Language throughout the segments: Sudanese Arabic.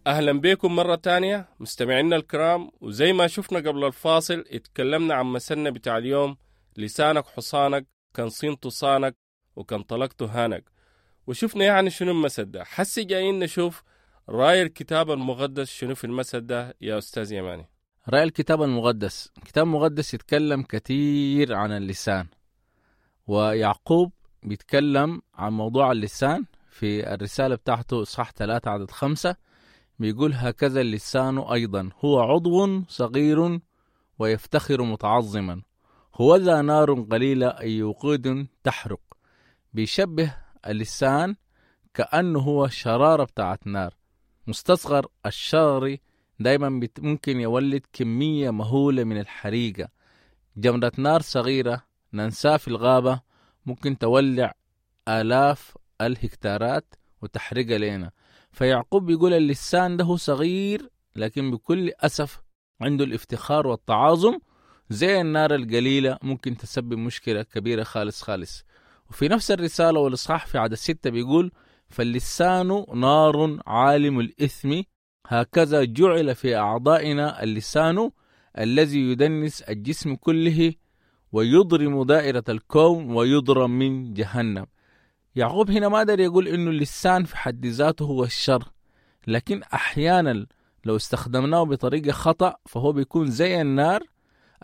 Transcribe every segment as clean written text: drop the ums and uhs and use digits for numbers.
أهلا بكم مرة تانية مستمعينا الكرام، وزي ما شفنا قبل الفاصل اتكلمنا عن مثلنا بتاع اليوم: لسانك حصانك، كان صنته صانك وكان طلقته هانك. وشفنا يعني شنو المثل ده. حسي جايين نشوف رأي الكتاب المقدس شنو في المثل ده يا أستاذ يماني. رأي الكتاب المقدس، الكتاب المقدس يتكلم كثير عن اللسان، ويعقوب بيتكلم عن موضوع اللسان في الرسالة بتاعته إصحاح 3 عدد 5، بيقول: هكذا اللسان أيضا هو عضو صغير ويفتخر متعظما، هو ذا نار قليلة أي وقود تحرق. بيشبه اللسان كأنه هو شرارة بتاعت نار، مستصغر الشرر دايما ممكن يولد كمية مهولة من الحريقة. جمرة نار صغيرة ننساه في الغابة ممكن تولع آلاف الهكتارات وتحرقها لنا. فيعقوب بيقول اللسان ده صغير، لكن بكل أسف عنده الافتخار والتعاظم زي النار القليلة ممكن تسبب مشكلة كبيرة خالص خالص. وفي نفس الرسالة والإصحاح في عدد 6 بيقول: فاللسان نار عالم الإثم، هكذا جعل في أعضائنا اللسان الذي يدنس الجسم كله ويضرم دائرة الكون ويضرم من جهنم. يعقوب هنا ما دار يقول إنه اللسان في حد ذاته هو الشر، لكن أحيانا لو استخدمناه بطريقة خطأ فهو بيكون زي النار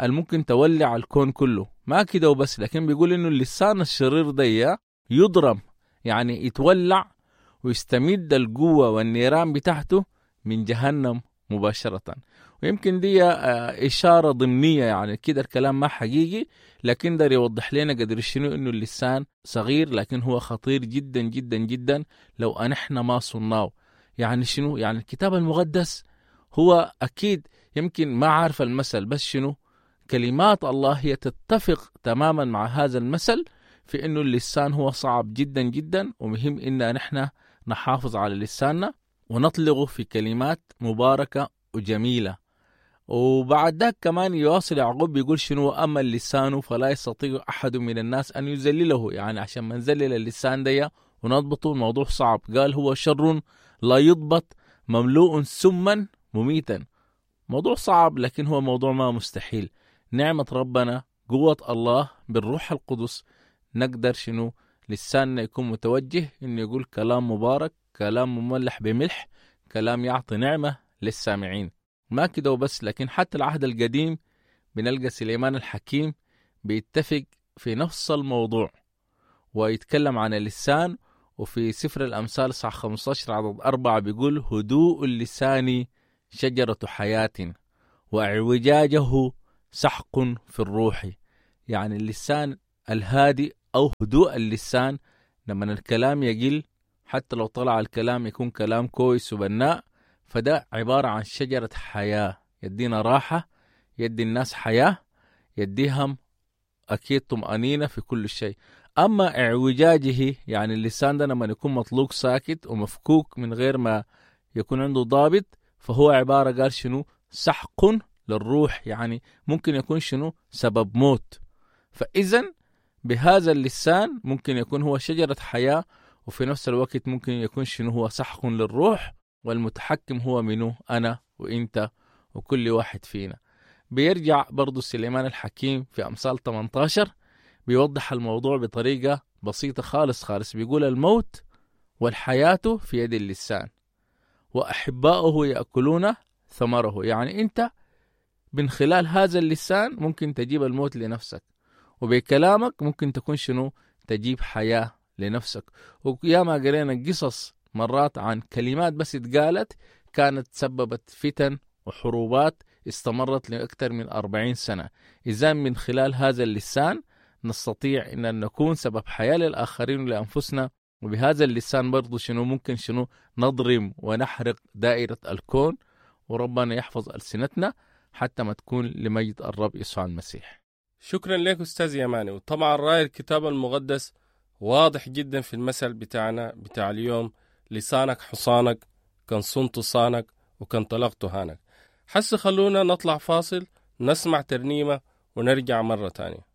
الممكن تولع الكون كله. ما كده وبس، لكن بيقول إنه اللسان الشرير ده يضرم، يعني يتولع ويستمد القوة والنيران بتاعته من جهنم مباشرة. ويمكن دي إشارة ضمنية، يعني كده الكلام ما حقيقي، لكن ده يوضح لنا قدر شنو إنه اللسان صغير لكن هو خطير جدا جدا جدا لو أنحنا ما صناه. يعني شنو؟ يعني الكتاب المقدس هو أكيد يمكن ما عارف المثل، بس شنو كلمات الله هي تتفق تماما مع هذا المثل في إنه اللسان هو صعب جدا جدا، ومهم إن نحن نحافظ على لساننا ونطلقه في كلمات مباركة وجميلة. وبعد ذاك كمان يواصل يعقوب بيقول شنو: أما اللسان فلا يستطيع أحد من الناس أن يذلله. يعني عشان ما نذلل اللسان دي ونضبطه الموضوع صعب. قال هو شر لا يضبط مملوء سما مميتا. موضوع صعب لكن هو موضوع ما مستحيل. نعمة ربنا، قوة الله بالروح القدس، نقدر شنو لساننا يكون متوجه إنه يقول كلام مبارك، كلام مملح بملح، كلام يعطي نعمة للسامعين. ما كده وبس، لكن حتى العهد القديم بنلقى سليمان الحكيم بيتفق في نفس الموضوع ويتكلم عن اللسان. وفي سفر الأمثال صح 15 عدد 4 بيقول: هدوء اللسان شجرة حياة واعوجاجه سحق في الروح. يعني اللسان الهادي أو هدوء اللسان لما الكلام يقل، حتى لو طلع الكلام يكون كلام كويس وبناء، فده عبارة عن شجرة حياة، يدينا راحة، يدي الناس حياة، يديهم أكيد طمأنينة في كل شيء. أما اعوجاجه، يعني اللسان ده لما يكون مطلوق ساكت ومفكوك من غير ما يكون عنده ضابط، فهو عبارة قال شنو سحق للروح، يعني ممكن يكون شنو سبب موت. فإذا بهذا اللسان ممكن يكون هو شجرة حياة، وفي نفس الوقت ممكن يكون شنو هو سحق للروح، والمتحكم هو منه أنا وإنت وكل واحد فينا. بيرجع برضو سليمان الحكيم في أمثال 18 بيوضح الموضوع بطريقة بسيطة خالص خالص، بيقول: الموت والحياة في يد اللسان وأحباؤه يأكلون ثمره. يعني أنت من خلال هذا اللسان ممكن تجيب الموت لنفسك، وبكلامك ممكن تكون شنو تجيب حياة لنفسك. وياما قرينا قصص مرات عن كلمات بس اتقالت كانت سببت فتن وحروبات استمرت لأكثر من 40 سنة. إذا من خلال هذا اللسان نستطيع أن نكون سبب حياة للآخرين ولأنفسنا، وبهذا اللسان برضو شنو ممكن شنو نضرم ونحرق دائرة الكون. وربنا يحفظ ألسنتنا حتى ما تكون لمجد الرب يسوع المسيح. شكرا لك أستاذ يماني. وطبعا رأي الكتاب المقدس واضح جدا في المثل بتاعنا بتاع اليوم: لسانك حصانك، كان صنت صانك وكان طلقت هانك. حس خلونا نطلع فاصل نسمع ترنيمة ونرجع مرة تانية.